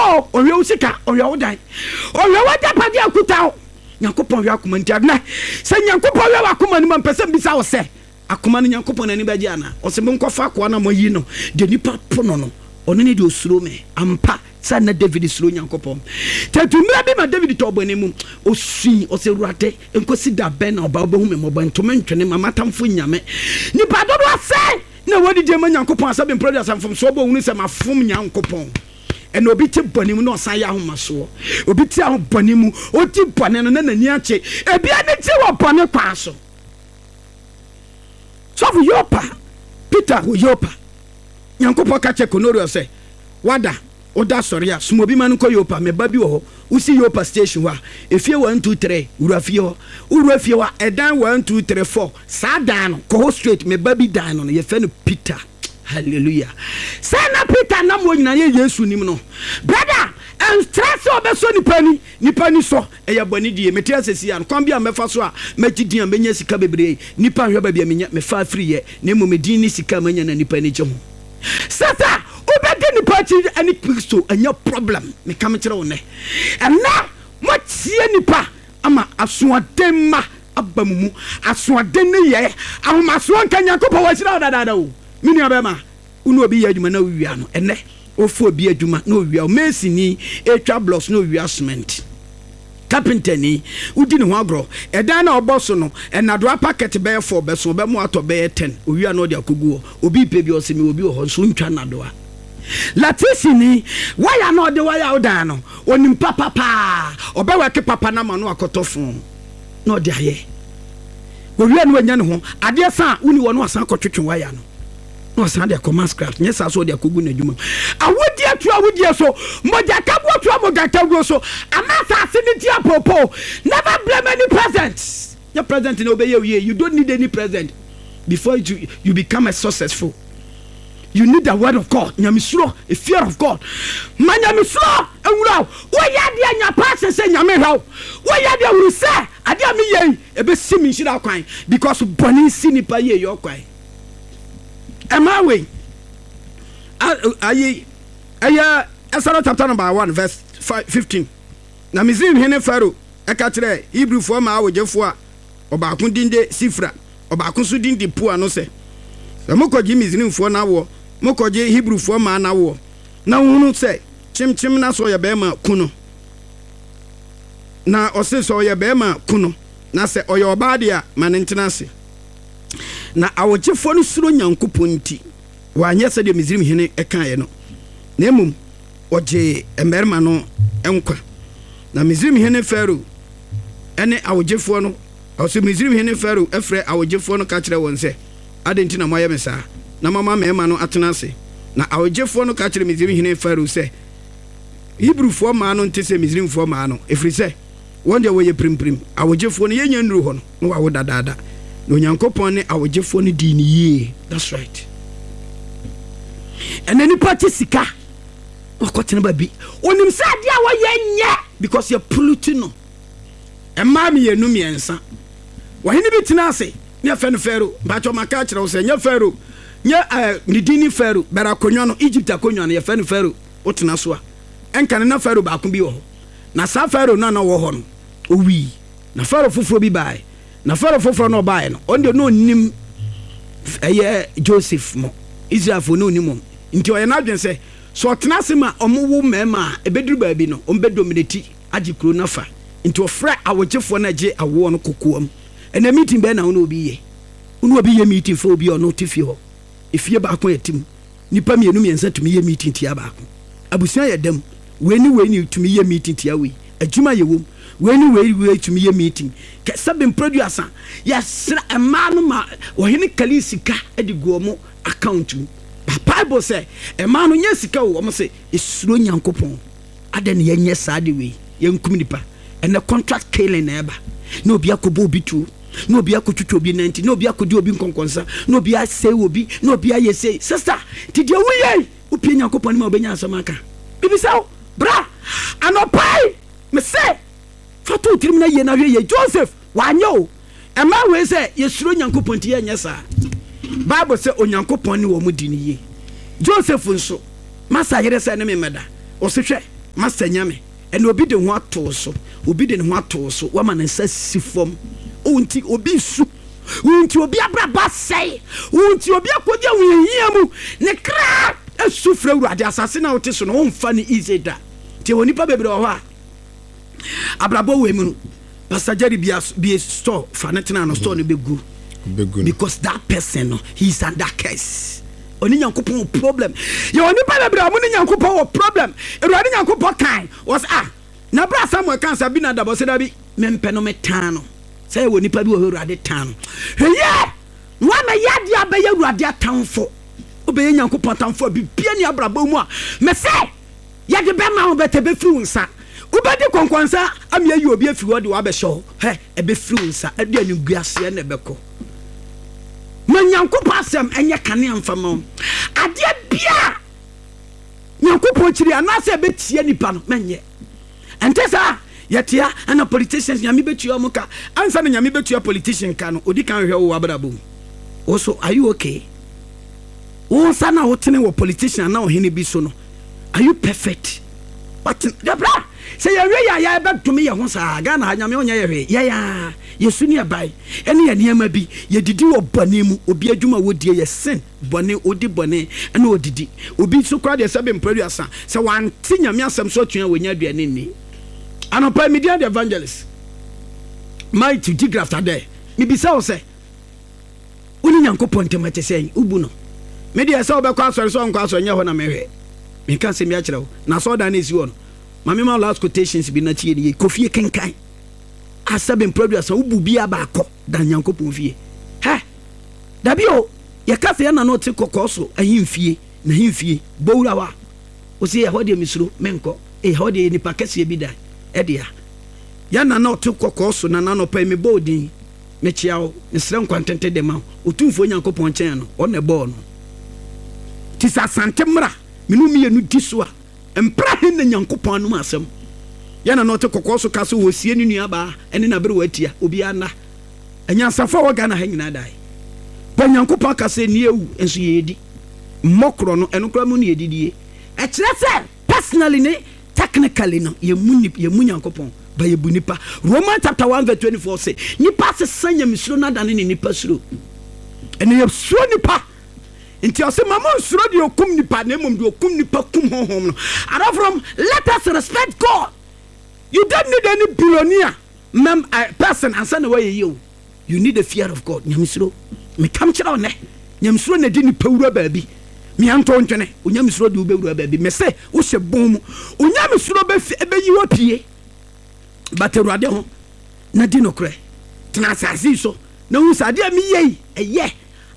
o, ɔnhwɛ wo sika, ɔnhwɛ wo dan, ɔnhwɛ w'agyapadeɛ a ɛkuta wo. Nyankopɔn hwɛ akoma nti adena sɛ Nyankopɔn hwɛ w'akoma no mu a, mpɛ sɛ mbisa wo sɛ, akoma no Nyankopɔn n'ani bɛgye anaa? Ɔse monkɔfa akoa no a moayi no, deɛ nipa po no no, ɔno ne deɛ ɔsuro me. Ampa sɛ na David suro Nyankopɔn. Tatu mmerɛ bi ma David tɔɔ bɔne mu, ɔsui, ɔse Awurade, nkosi da bɛn na ɔba wobɛhu me mmɔbɔ, nto me ntwene, ma m'atamfo nnya me. Nipa dodoɔ sɛn na wɔadidi ama Nyankopɔn asɛ bemprɛ aduasa mfomsoɔ bɔ ohunu sɛ mafom Nyankopɔn. Ɛna obi te bɔne mu na ɔsan yɛ ahomasoɔ. Obi te aho bɔne mu, ɔdi bɔne no na n'ani agye. Ebi ani gye wɔ bɔne kwan so. Sɔfo Yopa, Peter wɔ Yopa. Nyankopɔn ka kyerɛ Kornelio sɛ, Wada, woda sɔre a, soma obi ma no nkɔ Yopa, me ba bi wɔ hɔ. Wosi Yopa station hɔ a, efie 1, 2, 3, wura fie hɔ. Wowura fie hɔ a, ɛdan 1, 2, 3, 4, saa dan no, kɔ hɔ straight, me ba bi dan no no, yɛfrɛ no Peter. Hallelujah. Sɛ na Peter nam hɔ nyinaa yɛ Yesu nim no. Brother, ɛntra sɛ ɔbɛsɔ nipa ani, nipa ani sɔ, ɛyɛ bɔne die. Mete ase si ano, kwan bi a mɛfa so a mɛgye din a mɛnya sika bebree, nipa nhwɛ baabi a menya, mefa afiri yɛ, na mmom edin ne sika a manya na nipa ani gye ho. Sasa, wobɛdi nipa akyi ɛne Kristo, ɛnyɛ problem. Meka mekyerɛ wo nnɛ. Ɛnnɛ, moatie nipa ama asoɔden mma aba mo mu. Asoɔden nneyɛɛ, ahomasoɔ nka Nyankopɔn wahyira wo dadaada o. Me nua bɛɛma, wo ne obi yɛ adwuma na wowia no, ɛnnɛ wofa obi adwuma na owia wo. Mason ni ɛretwa blocks na owia cement. Carpenter ni, wodi ne ho agorɔ. Ɛdan no a ɔbɔ so no, nnadoa packet bɛyɛ four bɛso, ɔbɛma watɔ bɛyɛ ten, owia na ɔde akɔgu hɔ. Obi repɛ bi, ɔse mewɔ bi wɔ hɔ, nso wontwa nnadoa. Latisi ni, wire no a ɔde wire wo dan no, onim papa paa. Ɔbɛwɛke papa no ama no akɔtɔ phone na ɔde ayɛ. Owie no wanya ne ho. Adeɛ sa a, woni hɔ na wasan akɔtwetwe wire no na wasan de akɔma scraps. Nyɛ saa so ɔde akɔgu n'adwuma mu. Awudie to awudie so, mogyakaguo to mogyakaguo so, ama asase no di apoopoo. Never blame any president. Nyɛ president na ɔbɛyɛ wo yie. You don't need any president before you, you become a successful. You need the word of God. Nyamesuro, a fear of God. Ma nyamesuro nwura wo. Woyɛ adeɛ nya passion sɛ Nyame hwɛ wo. Woyɛ adeɛ hunu sɛ adeɛ a meyɛ yi ɛbɛsi me nhyira kwan because bɔne si nipa yie yɛ ɔkwan. Ɛmaa wei ayi ɛyɛ Exodus chapter number 1 verse 15. Na Misraim hene Pharaoh ɛka kyerɛɛ Hebrewfoɔ mmaa awogyefoɔ a ɔbaako din de Sifra, ɔbaako nso din de Pua no sɛ, Sɛ mokɔgye Misraimfoɔ no awoɔ, mokɔgye Hebrifoɔ mmaa no awoɔ, na wohunu sɛ kyemkyem na sɛ ɔyɛ barima a, ku no. Na ɔse, Sɛ ɔyɛ barima a, ku no, na sɛ ɔyɛ ɔbaa deɛ a, ma no ntena ase. Na awogyefoɔ no suro Nyankopɔn nti, wɔanyɛ sɛdeɛ Misraim hene kaeɛ no, na mmom wɔgyee mmarima no nkwa. Na Misraim hene Farao ne awogyefoɔ no, ɔse Misraim hene Farao frɛɛ awogyefoɔ no ka kyerɛɛ wɔn sɛ, Adɛn nti na moayɛ me saa, na moama mmarima no atena ase? Na awogyefoɔ no ka kyerɛɛ Misraim hene Farao sɛ, Hebrifoɔ mmaa no nte sɛ Misraimfoɔ mmaa no, ɛfiri sɛ wɔn deɛ wɔyɛ pirimpirim. Awogyefoɔ no, yɛnnya nnuru hɔ no, na wɔawo dadaada. Na Onyankopɔn ne awogyefoɔ no dii no yie. That's right. Ɛnɛ nipa te sika na wakɔtena baabi. Onim sɛ adeɛ a wɔyɛ nyɛ because yɛ pollute no. Mmaa mmienu mmiɛnsa. Ɔhene bi tena ase ne yɛfrɛ no Pharaoh. Mpakyɛ maka akyerɛ wo sɛ nyɛ Pharaoh nyɛ eh, ne din ne Pharaoh bɛrɛ akonnwa no Egypt akonnwa no yɛfrɛ no Pharaoh. Wotena so a ɛnka no na Pharaoh baako bi wɔ hɔ. Na saa Pharaoh no a na ɔwɔ hɔ no owui. Na Pharaoh foforɔ bi baeɛ. Na Farao foforɔ no ɔbaeɛ no, ɔno deɛ na ɔnnim ɛyɛ Joseph mo, Israelfoɔ na ɔnnim wɔn. Nti ɔyɛ n'adwene sɛ, sɛ ɔtena ase ma wɔwo mmarima a, ɛbɛduru baabi no, wɔbɛdominati agye kuro no afa. Nti ɔfrɛ awogyefoɔ no a ɛgye awoɔ no kokoam. Ɛnɛ meeting bɛn na wo ne obi yɛ? Wo ne obi yɛ meeting fa obi a ɔno te fie hɔ. Efie baako a ɛte mu. Nnipa mmienu mmiɛnsa tumi yɛ meeting tia baako. Abusua yɛ dam. Wei ne wei ne tumi yɛ meeting tia wei. Adwuma yɛ wom. Wei ne wei wei tumi yɛ meeting. Kɛ sɛbe mprɛduasa yɛsrɛ mmaa no ma ɔhene kali sika de gu wɔn account mu. But Bible sɛ mmaa no nyɛ sika o, wɔn se esuro Nyankopɔn. Adɛn na yɛnyɛ saa ade wei? Yɛnkum nipa. Ɛnɛ contract killing na ɛba. Na obi akɔbɔ obi tuo, na obi akɔtwitwa obi nanti, na obi akɔdi obi nkɔnkɔnsa, na obi asɛe obi, na obi ayɛ sei. Sister, nti deɛ woyɛ yi, wopie Nyankopɔn anim a wobɛnya asɛm aka. Mebisa wo, bra anɔpa yi, mese fa to wo tirim na yie na hwɛ yie. Joseph, wanyɛ o. Ɛmaa wei sɛ yɛsuro Nyankopɔn nti yɛnyɛ saa. Bible sɛ Onyankopɔn ne wɔn di no yie. Joseph nso, masa yere sɛ ne me mmɛda. Ɔse hwɛ. Master Nyame, ɛnna obi de ho ato wo so, obi de ne ho ato wo so, woama ne nsa si fam. Wo nti obi resu, wo nti obi abrabɔ asɛe, wo nti obi akɔdi ahohiahia mu, ne kra su frɛ Awurade. Asase no a wote so no, womfa no easy da. Nti ɛwɔ nnipa bebree wɔ hɔ a, abrabɔ wei mu no, Pastor Jerry bia bie store fa ne tena no store no bɛgu because that person no, he is under curse. Ɔne Nyankopɔn wɔ problem. Yɛwɔ nnipa bebree a wɔn ne Nyankopɔn wɔ problem. Awurade Nyankopɔn kan wɔsɛ ah na berɛ a Samuel kan sɛ Abinadab ɔsɛ dabi mempɛ no metan no. Sɛ yɛwɔ nnipa bi wɔ hɔ Awurade tan no. Hwɛ yie na woamɛyɛ adeɛ a bɛyɛ Awurade atamfo. Wobɛyɛ Nyankopɔn atamfo a bibia ni abrabɔ mu a mɛsɛ yɛde bɛma wo bɛtɛ bɛfiri wo nsa. Wobɛdi kɔnkɔnsa ama ayi obi afiri hɔ de wo abɛhyɛ hɔ. Hɛ ɛbɛfiri wo nsa ɛde animguaseɛ na ɛbɛkɔ. Ma Nyankopɔn asɛm nyɛ kanea mfa ma wo. Adeɛ biara a Nyankopɔn kyiri anaasɛ ɛbɛtia nipa no, mɛnyɛ. Ɛnte saa? Yɛtea ɛna politicians Nyame bɛtua wɔn ka. Ansa na Nyame bɛtua politician ka no, ɔdi kan hwɛ wo w'abrabɔ mu. Wo so, are you okay? Wo nsa no a wotene wɔ politician anaa ɔhene bi so no, are you perfect? Watene, dabra! Sɛ yɛnhwɛ yie a yɛbɛdome yɛn ho saa. Ghana ha Nyame ɔnyɛ yɛ hwee. Yɛn ara yɛsu ne yɛbae ɛne yɛn nneɛma bi. Yɛdidi wɔ bɔne mu. Obi adwuma a wɔdie yɛ sin, bɔne, ɔdi bɔne ɛna ɔdidi. Obi nso koraa deɛ sɛbe mprɛ aduasa, sɛ wante Nyame asɛm so atua a wɔnya aduane nni. Anɔpa yi medin ade Evangelist Mighty Digraft Adeh. Mebisa wo sɛ, Wo ne Nyankopɔn ntam ɛte sɛn? Wobu no? Me deɛ sɛ wobɛkɔ asɔre sɛ wonkɔ asɔre nyɛ hɔ na mehwɛ. Meka asɛm bi akyerɛ wo. Na asɔredan no ɛsi hɔ no, ma mema wo last quotations bi na tie no yie. Kɔ fie kenkan. Asɛbe mprɛ aduasa wobu biara baakɔ dan Nyankopɔn fie. Hɛ! Dabi o, yɛka sɛ yɛn na na ɔte kɔkɔɔ so ahemfie, n'ahemfie, bɔ wura hɔ a, wo se ɛhɔ deɛ mesuro, menkɔ. Ei, ɛhɔ deɛ yɛ nipa kɛseɛ bi dan ɛdea. Yɛn na na ɔte kɔkɔɔ so, na n'anɔpa yi mebɔ wo din. Mekyea wo, mesrɛ nkwa ntenten de ma wo. Otumfoɔ Nyankopɔn nkyɛn no, ɔno na ɛbɔɔ no. Nti sɛ Asante mmra me ne wo mmienu di so a, mpra he na Nyankopɔn anom asɛm? Yɛ na na ɔte kɔkɔɔ so ka sɛ ɔresie ne nuabaa ne n'aberewa atia, obiara nna. Anyansafo a ɛwɔ Ghana ha nyinaa dae. Pɛ Nyankopɔn aka sɛ nni awu, nso yɛredi. Mmɔ korɔ no, ɛno koraa mu na yɛdidie. Ɛkyerɛ sɛ personally ne Technically no, yɛmmu nip, yɛmmu Nyankopɔn, but yɛbu nipa. Romans chapter 1 verse 24 se, nipa asesa nyamesuro no adane ne nipa suro. Ɛnna yɛsuro nipa. Nti ɔse, ma mo nsuro deɛ ɔkum nipa, na mmom deɛ ɔkum nipa kum honhom no. Adɔfonom, let us respect God. You don't need any billionaire mem, uh, person ansa na woayɛ yie o. You need the fear of God, Nyamesuro. Mekam kyerɛ wo nnɛ, Nyamesuro na ɛde nipa wura baabi. Mea nto ntwene, Onyamesuro de wobɛwura baabi. Mese, wohyɛ bɔn mu, Onyamesuro bɛyi wo apue. Bata Awurade ho na di nokorɛ. Tena asase yi so na hu sɛ adeɛ a meyɛ yi, ɛyɛ.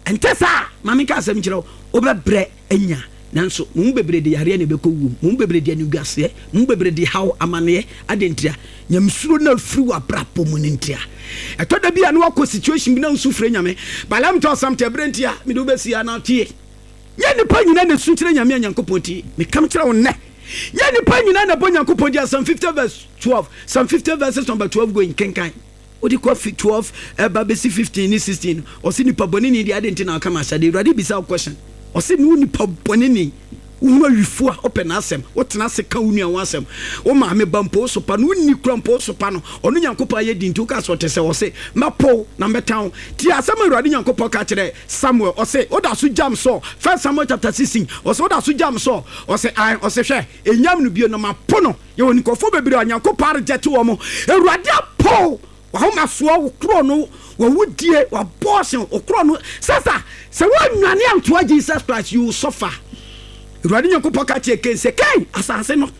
Ɛnte saa a, ma menka asɛm nkyerɛ wo, wobɛbrɛ anya. Nanso mo mu bebree de yareɛ na ɛbɛkɔ wuo mu, mo mu bebree de animguaseɛ, mo mu bebree de haw, amaneɛ. Adɛn ntia? Nyamesuro no afiri w'abrabɔ mu no ntia. Ɛtɔ da bi a na woakɔ situation bi na wosu frɛ Nyame. But let me tell you something, ɛberɛ ntia, mede wo bɛsi ha na tie. Nyɛ nnipa nyinaa na ɛsu kyerɛ Nyame a Nyankopɔn tie. Meka kyerɛ wo nnɛ, nyɛ nnipa nyinaa na ɛbɔ Nyankopɔn din. Psalm 50 verse 12, Psalm 50 verses number 12 going, kenkan. Wode kɔ fi 12 ɛba bɛsi 15 ne 16 no, ɔse nipa bɔne ni deɛ adɛn nti na ɔka m'ahyɛdeɛ? Awurade bisa wo question. Ɔse ne wo nipa bɔne ni, wohunu awifo a wopɛ n'asɛm, wotena ase ka wo nua ho asɛm, wo maame ba mpo wosopa no, wonni kura mpo wosopa no, ɔno Nyankopɔn ayɛ din nti woka sɛ ɔte sɛ, ɔse mɛpo wo na mɛtan wo. Tie asɛm a Awurade Nyankopɔn ka kyerɛɛ Samuel, ɔse woda so gyam Saul, 1 Samuel chapter 16, ɔse woda so gyam Saul, ɔse ae, ɔse hwɛ, ɛnyam no bio na mapo no. Yɛwɔ nkurɔfoɔ bebree a Nyankopɔn arejɛte wɔn. Awurade apo w'ahomasoɔ, wo korɔ no, w'awudie, w'abortion, wo korɔ no. Sasa, sɛ woannwane antoa Jesus Christ, you will suffer. Awurade Nyankopɔn ka kyerɛɛ Cain sɛ, Cain, asase no,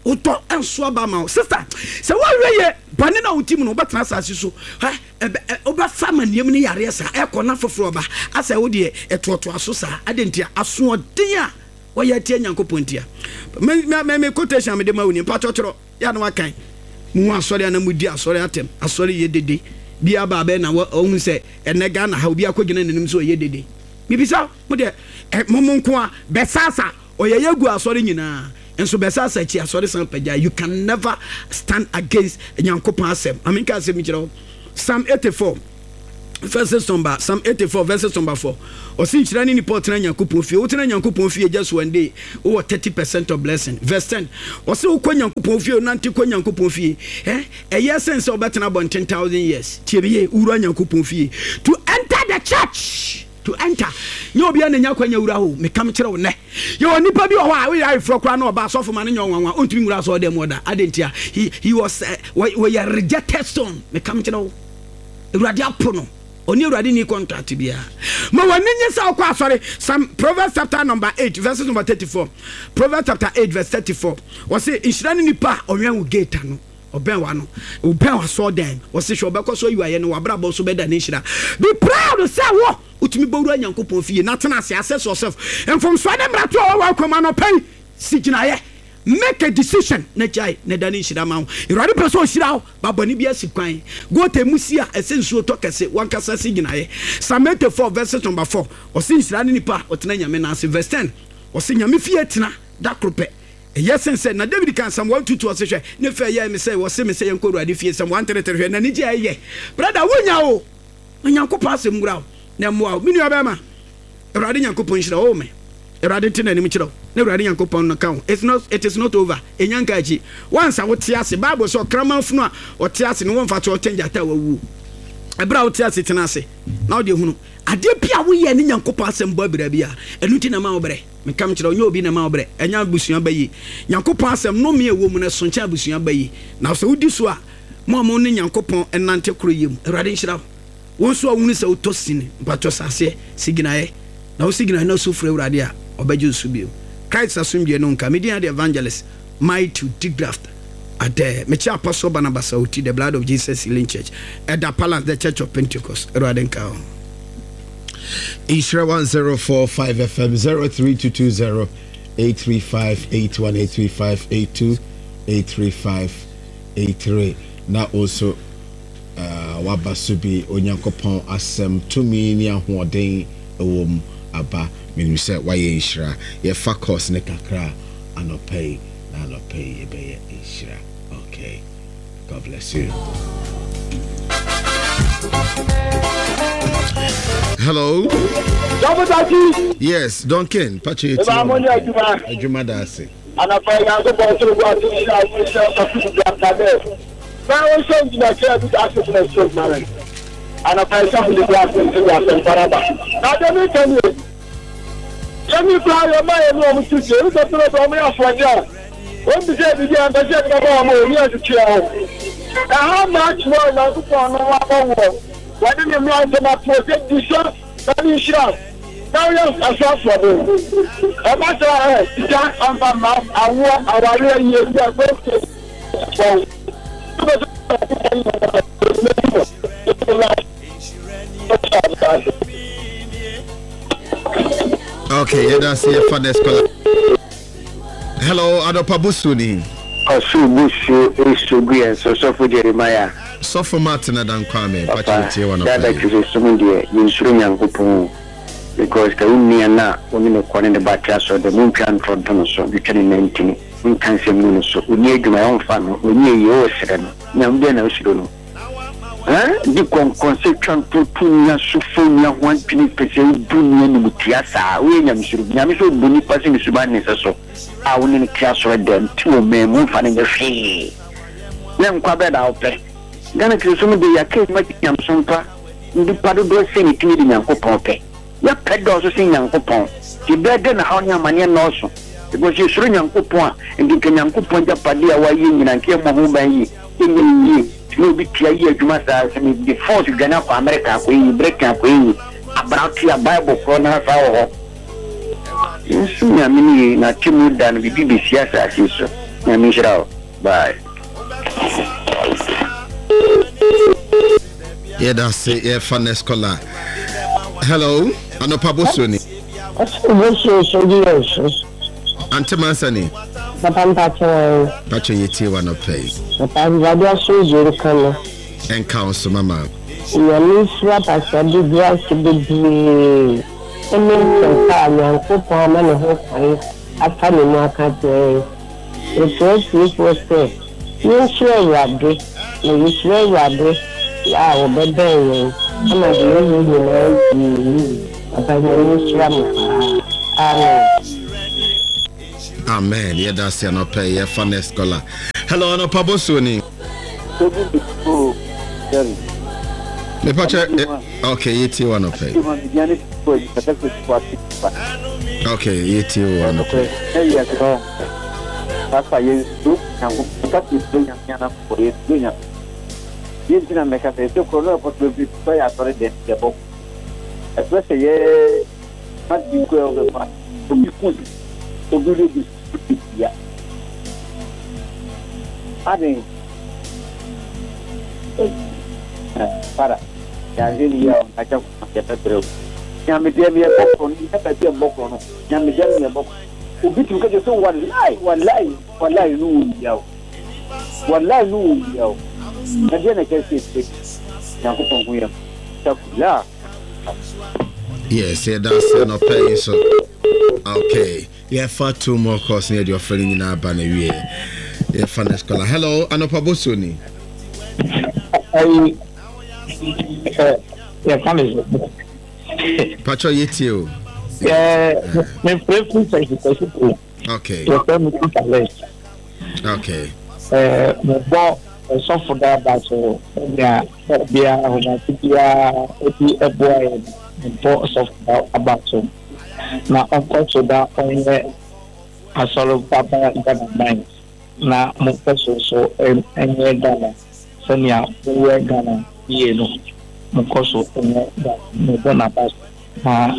wotɔ nso aba ama wo. Sister, sɛ woanhwɛ yie, bɔne no a wote mu no, wobɛtena asase so. Hɛ, ɛbɛ, ɛ, wobɛfa amanneɛ mu ne yareɛ saa, ɛkɔ na foforɔ ba. Asɛ wo deɛ, ɛtoatoa so saa. Adɛn ntia? Asoɔden a Wɔyɛ atia Nyankopɔn ntia. Me me me quotation a mede ma wo ni, mpakyɛw kyerɛw, yɛ a na wakan. Muhu asɔre a na mudi asɔre atɛm, asɔre yɛ dede. Bi aba abɛn na wahu sɛ ɛnɛ Ghana ha obi akɔgyina n'anim sɛ ɔyɛ dede. Mebisa mo deɛ, ɛ, mo mo nko a, bɛsasa, ɔyɛ yɛ gu asɔre nyinaa. Nso bɛsasa akyi asɔre san pagya. You can never stand against Nyankopɔn asɛm. Ma menka asɛm nkyerɛ wo. Psalm 84. Verses number Psalm 84 verses number 4. Ɔsi nhyira ne nipa ɔtena Nyankopɔn fie. Wotena Nyankopɔn fie just one day, wowɔ 30% of blessing. Verse 10. Ɔsi wokɔ Nyankopɔn fie, wonante kɔ Nyankopɔn fie. Eh, ɛyɛ sen sɛ wobɛtena abɔnten thousand years. Tie me yie, wowura Nyankopɔn fie. To enter the church. To enter. Nyɛ obiara na nya kwanya wura hɔ. Meka mekyerɛ wo nnɛ. Yɛwɔ nipa bi wɔ hɔ a woyɛ ayeforɔ koraa na ɔba asɔfo ma no nyɛ ɔnwanwa. Ɔntumi nwura asɔre dɛm hɔ da. Adɛn ntia? He, he was, uh, wɔyɛ rejected stone. Meka mekyerɛ wo. Awurade apo no. Ɔne Awurade nni contract biara. Ma w'ani nye sɛ wokɔ asɔre. Psalm, Proverbs chapter number 8 verses number 34. Proverbs chapter 8 verse 34. Wɔse nhyira ne nipa a ɔwɛn wo gate ano. Ɔbɛn w'ano. Ɔbɛn w'asɔɔdan. Wɔse hwɛ ɔbɛkɔ so ayi w'ayɛ no w'abrabɔ nso bɛda ne nhyira. Be proud sɛ wo wotumi bɔwura Nyankopɔn fie na tena ase assess yourself. Mfomsoɔ ne mmarato a ɛwɔ w'akwan mu anɔpa yi si gyinaeɛ. Make a decision na gyae na da ne nhyira ma wo. Awurade pɛ sɛ ɔhyira wo. Ba bɔne bi asi kwan. Gote mu si a ɛsɛ nsuo tɔ kɛse. Wankasa si gyinaeɛ. Psalm 84 verses number 4 ɔse nhyira ne nipa a ɔtena Nyame nan ase. Verse 10 ɔse Nyame fie tena da koro pɛ ɛyɛ sen sɛ. Na David kaa Psalm 122 ɔse hwɛ ne fɛ yɛɛ me sɛ wɔse me sɛ yɛnkɔ Awurade fie. Psalm 133 hwɛ n'anigye a ɛyɛ. Brother wonya o. Ma Nyankopɔn asɛm nwura wo na ɛmmoa wo. Me nua bɛrima, Awurade Nyankopɔn nhyira wo. Oh me. Awurade nte n'anim kyerɛ wo na Awurade Nyankopɔn no ka wo. It's not, it is not over. Ɛnya nka akyi. Once a wote ase, Bible sɛ ɔkraman funu a ɔte ase no wɔmfa to ɔkyɛn gyata a wawuo. Ɛberɛ a wote ase tena ase na wode hunu adeɛ bi a woyɛ ne Nyankopɔn asɛm bɔ abira bi a, ɛno nti na ɛma wo brɛ. Meka mekyerɛ wo, nyɛ obi na ɛma wo brɛ, ɛnyɛ abusua ba yi. Nyankopɔn asɛm, nnome a ɛwɔ mu no ɛso nkyɛn abusua ba yi. Na sɛ wodi so a, Mo a mo ne Nyankopɔn nante koroyɛ mu, Awurade nhyira wo. Wo nso a wohunu sɛ wotɔ sin, mpakyɛ hyɛ aseɛ si gyinaeɛ. Na wosi gyinaeɛ na su frɛ Awurade a, ɔbɛgye wo so bio. Christ asomdwoeɛ no nka. Me din ade Evangelist Matthew Digraft Adair. Mekyɛ Apostle Barnabas Awuti, The Blood of Jesus Healing Church, Ɛda Palace, The Church of Pentecost. Awurade nka wo. Nhyira 1045 FM 03220 835 81 835 82 835 83 na wo nso waba so bi Onyankopɔn asɛm tumi ne ahoɔden wɔ mu aba menim sɛ wayɛ nhyira yɛfa course ne kakra anɔpa yi na anɔpa yi yɛbɛyɛ nhyira okay God bless you. Hello. Yes, Duncan. Patrick. Adwuma da ase. Anapa yi Nyankopɔn sor guase nhyira wo nhyira ɔsɔfo Dubraka dɛ na wo nhyɛ ngyinakyerɛ bi ase tena stroke ma me. Anapa yi sɔfo Dubraka nso de asɛmpa no aba. Na deɛ meka nie, yɛn koraa yɛn mma a yɛne wɔn te fie, wosɛ toro sɛ wɔyɛ asoɔden a, wɔn bisa biribi a mpɛ sɛ yɛde bɛma wɔn o, ne yɛntwetwe yɛn ho. Ɛha much more Nyankopɔn no wabɔ woɔ, wɔde ne mmara nsɛm ato hɔ sɛ di so. Na ne nhyira na woyɛ asoasoɔden. Ɛba saa ɛ, sika amfa mma, awoɔ, awareɛ, yiedie, akwantuo, wɔn. Wobɛsɛ Onyankopɔn yɛ Okay, yɛda se yɛfa next caller. Hello, Adɔpa Bosuo ni. Ɔsoro bosuo resu gu yɛn so, Sɔfo Jeremiah. Sɔfo Martin Adan Kwame, Papa, mpakyɛ yɛtie wo anɔpa dada yi. Kristosom deɛ yɛnsuro Nyankopɔn o, because ka wo nua no a wo ne no kɔ ne ne ba te asɔre dɛm, wontwa ntorɔ nto no so, ntwitwa ne nantini, wonka nsɛm ngu no so, ɔnni adwuma yɛ womfa no, ɔnyɛ yie woresrɛ no, Nyame bɛn na wosuro no? Huh? Di kɔnkɔnsɛ twa ntorɔ to nua so fa onua ho adwene pɛ sɛ wobu nua animtia saa, woyɛ nyamesuro? Nyame sɛ ɔbu nipa sɛ ne suban ne ne sɛso a wo ne no te asɔre dɛm te wɔ man mu womfa no nyɛ hwee. Na nkwa bɛn na wopɛ? Ghana Kristosom de, yɛaka adwuma gye nyamesom pa. Nnipa dodoɔ sɛn na ɛtumi de Nyankopɔn pɛ? Yɛpɛ dɔɔso sen Nyankopɔn. Nti ɛbɛyɛ dɛn na haw ne amaneɛ nnɔɔso? Because yɛsuro Nyankopɔn a, nti nka Nyankopɔn agyapadeɛ a wayɛ nyinaa nka yɛmmɔ ho ban yie, yɛnyɛ no yie. Nti na obi tua yɛ adwuma saa, sɛ mede force dwane akɔ America akɔyɛ yie, Britain akɔyɛ yie, abra tua Bible korɔ no ara saa wɔ hɔ. Yɛnsom Nyame no yie na atemmuo da no biribi bɛsi asase yi so. Nyame nhyira wo. Bye. Yɛda ase yɛfa next caller. Hello, Anopa Bosuo ni. Bosuo so di yɛn so. Ante Mansa ni. Papa mpakyɛ wɔn. Mpakyɛ yɛ tie wa nɔpɛ yi. Papa Awurade asomdwoe nka no. Ɛnka wo so mama. Nyame nhyira Pastor Douglas bebree ɛne nsɛmpa a Nyankopɔn ama ne ho kwan afa ne mu aka akyerɛ yɛn. Mesrɛ atiefoɔ sɛ yɛnsuro Awurade, na yɛsuro Awurade a, ɔbɛbɛn yɛn. Ama deɛ ɔyɛ nyinaa yie yie. Papa Nyame nhyira mo paa. Amen. Amen yɛda ase anɔpa yi yɛfa next caller. Hello anɔpa bosuo ni. Mepakyɛ okay yɛtie wo anɔpa yi. Okay yɛtie wo anɔpa yi. Papa yɛnsuro Nyankopɔn ka sɛ yɛsuro Nyame anaa bɔ yɛnsuro Nyame deɛ nti na mɛka sɛ ɛsɛ korɔ no ɛkɔ so bebree sɛ yɛ asɔre dɛm yɛbɔ ɛsɛ sɛ yɛ ma bi kɔ ɛwɔ obi ku obi rebi ya aden para yɛahwɛ ne yie a ɔnkakyɛ koma yɛbɛbrɛ o nyamedeɛ no yɛbɔ korɔ no yɛ baabi a mbɔ korɔ no nyamedeɛ no yɛbɔ korɔ obi tumi ka kyerɛ sɛ walai walai walai no wɔ wia o walai no wɔ wia o na deɛ na ɛkyɛ sɛ ɛfɛ nyankopɔn ho yɛ takula. Yes, yɛda ase anɔpa yi nso. Okay, yɛfa two more calls ne yɛde ɔfrɛ no nyinaa ba na wie. Yɛfa next caller. Hello, anɔpa bosuo ni. Ayi, ɛ yɛfa ne so. Patro yɛtie o. Ɛ mefrɛ firi sɛsi sɛsi kuro. Okay. Yɛfrɛ me Peter Les. Okay. Ɛɛ mebɔ ɔsɔfo daa so sɛnea biara ahomate biara ɔdi ɛboa yɛn mebɔ ɔsɔfo daa aba so na ɔnkɔ so da ɔnyɛ asɔre baba Ghana man na monkɔ so so nyɛ Ghana sɛnea moyɛ Ghana yie no monkɔ so nyɛ Ghana mebɔ n'aba so paa.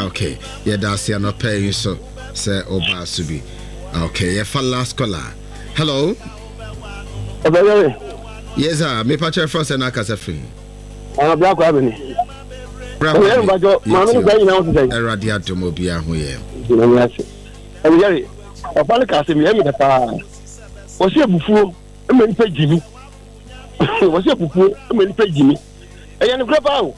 Okay, yɛda ase anɔpa yi nso sɛ ɔbaa so bi. Okay, yɛfa last caller. Hello. Ɔbɛyɛre. Yes sir, mepa kyerɛ frɛ sɛ na akasa firi. Ɔno bra kwa bɛni. Bra kwa bɛni. Ɔbɛyɛre maame no saa nyinaa ho sɛ. Awurade adom obiara ho yɛ. Nyame ase. Ɔbɛyɛre, ɔfa no ka asɛm yɛ mi dɛ paa. Wɔsi abufuo ma nipa gyimi. Wɔsi abufuo ma nipa gyimi. Ɛyɛ nokorɛ paa o.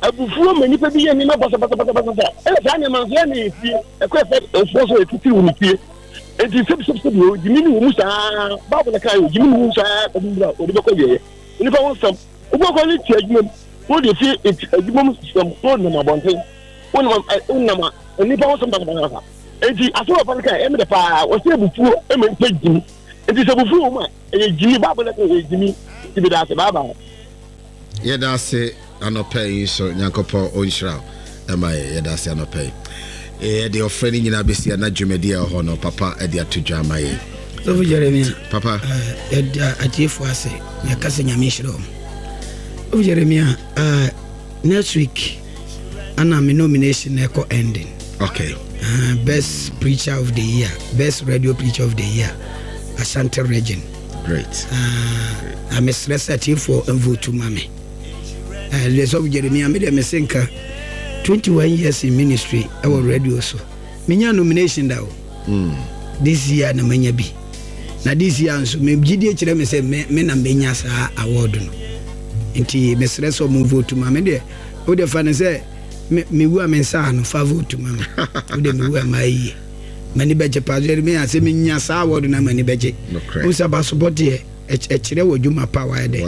Abufuo ma nnipa bi yɛ nneɛma basabasabasabasa. Ɛna saa nneɛma nso ɛna efie. Ɛkɔ ɛfɛ nfoɔ so ɛtitiri wɔ ne fie. Enti sɛbisɛbisɛbi o, gyimi ne wɔ mu saa. Bible na kan o, gyimi ne wɔ mu saa kɔbi mmerɛ a ɔde bɛkɔ wieɛ. Nnipa ho nsɛm. Wobɛkɔ ne te adwuma mu. Wode fie adwuma mu sɛm na wonam abɔnten. Wonam wonam a nnipa ho nsɛm basabasabasa. Enti asɛm a papa no kan ɛyɛ me dɛ paa. Wɔsɛ abufuo ma nnipa gyimi. Enti sɛ abufuo wɔ mu a ɛyɛ gyimi. Bible na kan ɛyɛ gyimi. Nti meda ase. Bye bye. Yɛda ase anɔpa yi nso Nyankopɔn ɔnhyira wo ɛma yɛ yɛda ase anɔpa yi yɛde ɔfrɛ no nyinaa bɛsi ana dwumadi a ɛwɔ hɔ no papa de ato dwa ama yɛ. Sɔfo Jeremia papa yɛda atiefoɔ ase yɛka sɛ Nyame nhyira wɔn. Sɔfo Jeremia uh, next week ana me nomination na ɛkɔ ending. Okay. Best preacher of the year, best radio preacher of the year, Ashanti region. Great. Na mesrɛ sɛ atiefoɔ mvotu ma me. The sɔfo Jeremia me deɛ mese nka 21 years in ministry ɛwɔ radio so. Menya nomination da o. Mm. This year na manya bi. Na this year nso me gyidie kyerɛ me sɛ me, me na menya saa award no. Nti mesrɛ sɛ ɔmo vote ma me deɛ. Wo deɛ fa no sɛ me mewu a me nsa ano fa vote ma me. Wo deɛ mewu a maa yie. M'ani bɛgye paa. Jeremia sɛ menya saa award no a m'ani bɛgye. Wohu sɛ abasobɔ deɛ ɛkyerɛ wɔ dwuma pa wayɛ dɛ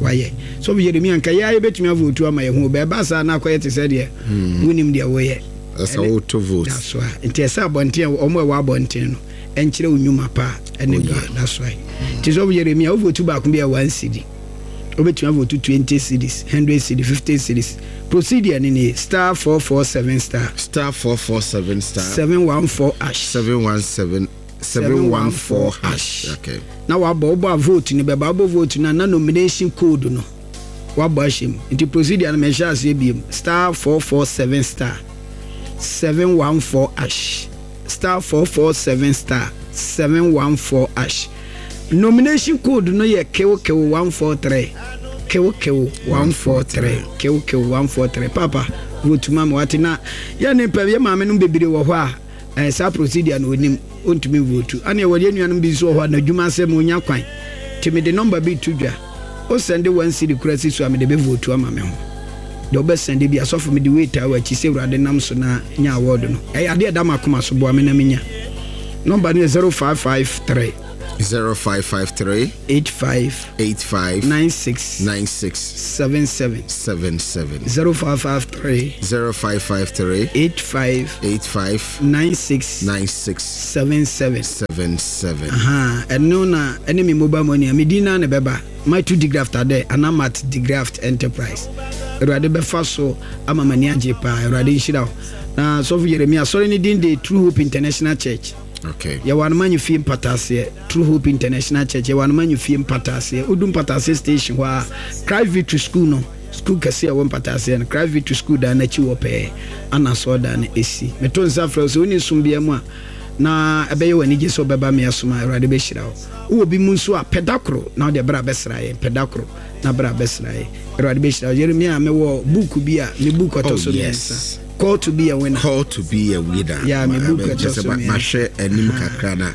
wayɛ. Sɔfo Jeremia nka yɛ a yɛbɛtumi avotu ama yɛn ho bɛɛba saa na akɔyɛ te sɛ deɛ hmm. wonim deɛ woyɛ. Ɛsɛ woto vote. That's why. Nti ɛsɛ abɔnten a wɔn a ɛwɔ abɔnten no ɛnkyerɛ wo nnwuma pa ɛne oh, yeah. That's why. Nti sɔfo Jeremia wovotu baako bi a one cedi. Wobɛtumi avotu 20 cedis, 100 cedi, 50 cedis. Procedure no nie, star 447 star. Star 447 star. 714 hash. 717 714 hash. Okay. Na wabɔ wobɔ a vote no bɛba wobɔ vote no a na nomination code no wabɔ ahyɛ mu. Nti procedure no mehyɛ aseɛ biem star 447 star 714 hash star 447 star 714 hash. Nomination code no yɛ kewkew 143 kewkew 143 kewkew 143 papa vote ma me wate na yɛ ne pɛ yɛ maame nom bebree wɔ hɔ a eh, saa procedure no onim ontumi vote ane ɛwɔ yɛ nuanom bi nso wɔ hɔ a n'adwuma asɛm onya kwan nti mede nɔmba bi to dwa o sɛnde one cedi kora si so a mede bɛ vote ama me ho deɛ wobɛ sɛnde bi asɔfo mede wei taa w'akyi sɛ awurade nam so na nya award no ɛyɛ adeɛ ɛda m'akoma so boa me na menya nɔmba no yɛ 0553. 0553 85 85 96 96 77 77 0553 0553 85 85 96 96 77 77. Aha, ɛno na ɛne me mobile money a medin na ne bɛba Matu Digraft adɛ anaa Mat Digraft Enterprise. Awurade bɛfa so ama m'ani agye paa. Awurade nhyira wo. Na sɔfo Yeremia, asɔre no din de True Hope International Church. Okay. Yɛwɔ Anomanyo fie mpataaseɛ, True Hope International Church, yɛwɔ Anomanyo fie mpataaseɛ. Wodu mpataaseɛ station hɔ a, Christ Victory School no, school kɛse a ɛwɔ mpataaseɛ no, Christ Victory School dan no akyi hɔ pɛɛ ana asɔredan no si. Meto nsa frɛ wo sɛ wonni som biara mu a, na ɛbɛyɛ wo anigye sɛ wobɛba me asom a, Awurade bɛhyira wo. Wowɔ bi mu nso a, pɛ da koro na wode bra bɛsra yɛn, pɛ da koro na bra bɛsra yɛn. Awurade bɛhyira wo. Yeremia, mewɔ book bi a, me book ɔtɔ so mmiɛnsa. Call to be a winner. Call to be a winner. Yeah, me book ɛtɔ so mmiɛnsa. Mahwɛ anim kakra na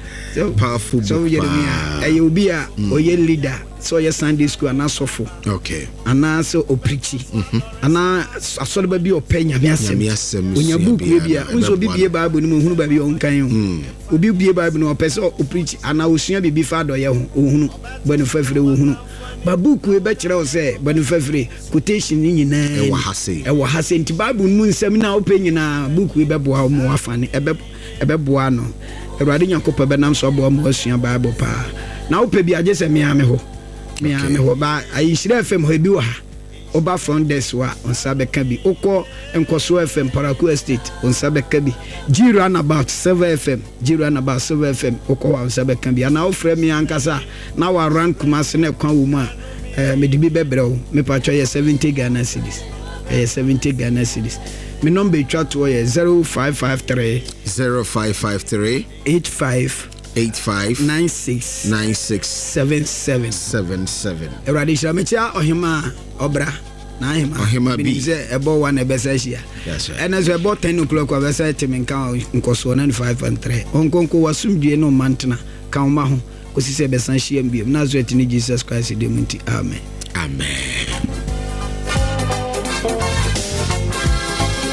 powerful book So Yeremia, ɛyɛ obi a ɔyɛ leader, sɛ ɔyɛ Sunday school anaa sɔfo. Okay. Anaa sɛ ɔprikyi. Anaa asɔreba bi ɔpɛ nyame asɛm. Nyame asɛm Onya sua book biara bi a, no, nso obi ɛbɛboa bie no. Bible no mu ohunu baabi a ɔnkan o. Obi bie Bible no ɔpɛ sɛ ɔprikyi anaa osua biribi fa adɔyɛ ho, ohunu. Bɔne fafire ohunu. Ba book yi bɛkyerɛ wo sɛ bɔne fafire quotation no nyinaa Ɛwɔ ni. ha sei. Ɛwɔ ha sei. Nti Bible no mu nsɛm no a wopɛ nyinaa book yi bɛboa wo ma woafa ne ɛbɛ ɛbɛboa no. Awurade Nyankopɔn bɛnam so aboa ma woasua Bible paa. Na wopɛ bi a gye sɛ me ara me hɔ. Me ara Okay. me hɔ. Ba ayi Nhyira FM hɔ ebi wɔ ha. Woba front desk hɔ a, wo nsa bɛka bi. Wokɔ Nkɔsoɔ FM, Paraku Estate, wo nsa bɛka bi. G Runabout, Silver FM, G Runabout, Silver FM, wokɔ hɔ a, wo nsa bɛka bi. Anaa wofrɛ me ankasa a, na waran Kumasi na ɛkwan wɔ mu a, eh, mede bi bɛbrɛ wo. Mepatwɔ ɛyɛ 70 Ghana cedis. Ɛyɛ 70 Ghana cedis. Me nɔmba etwa toɔ yɛ 0553 0553 85 85 96 96 77. 77. Awurade hyira mekyia ɔhema ɔbra na ahema Ɔhema bi. menim sɛ ɛbɔ 1 ɛbɛsa ahyia That's right. ɛnɛ so ɛbɔ 10 o'clock a bɛsa te me nka wɔ nkɔsoɔ 95.3 ɔnkonko wasomdwie ne ɔma ntena ka wo ma ho kɔsi sɛ ɛbɛsa hyia m biom Nasaret ne Jesus Christ din mu nti amen. Amen.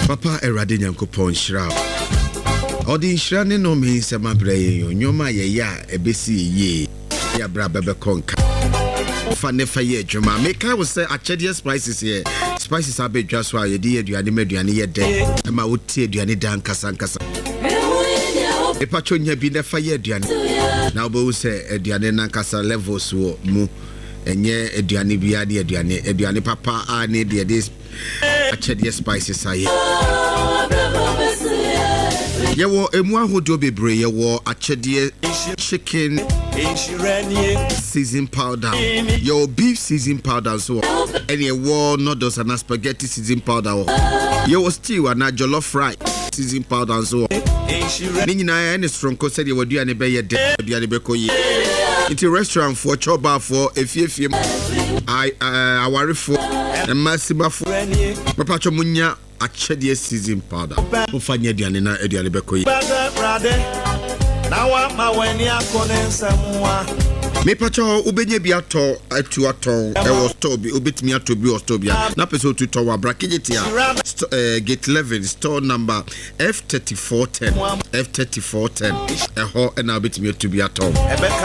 Papa Awurade Nyankopɔn nhyira wo. Ɔde nhyira ne nnome nsɛm abrɛ yɛn o. Nneɛma a yɛyɛ a ɛbɛsi yɛ yie ne abrabɔ bɛkɔ nka. Fa ne fa yɛ adwuma. Mekae wo sɛ akyɛdeɛ spices yɛ spices abɛdwa so a yɛde yɛ aduane ma aduane yɛ dɛ ɛma wote aduane da ankasa ankasa. Mepatwɔ nya bi na fa yɛ aduane na wobɛhu sɛ aduane no ankasa levels wɔ mu. Ɛnyɛ aduane biara ne aduane, aduane papa a ne deɛ de akyɛdeɛ spices ayɛ. Yɛwɔ emu ahodoɔ bebree, yɛwɔ akyɛdeɛ chicken season powder, yɛwɔ beef season powder nso wɔ, ɛne ɛwɔ noodles anaa spaghetti season powder wɔ, yɛwɔ stew anaa jollof rice season powder nso wɔ. Ne nyinaa ɛne soronko sɛdeɛ w'aduane bɛyɛ dɛ, w'aduane bɛkɔ yie. Nti restaurantfoɔ, chɔbafoɔ, efiefie mu, awarefoɔ, mmaasimafoɔ, mɛpatwɔ mo nya akyɛdeɛ season powder. Mofa nyɛ aduane na aduane bɛkɔ yie. Mepatwɔ wobɛnya bi atɔ atu atɔn ɛwɔ store bi, wobɛtumi atɔ bi wɔ store bi a na pɛ sɛ otu tɔ wɔ abra Kejetia, gate 11 store number F3410, F3410, ɛhɔ na wobɛtumi atu bi atɔn.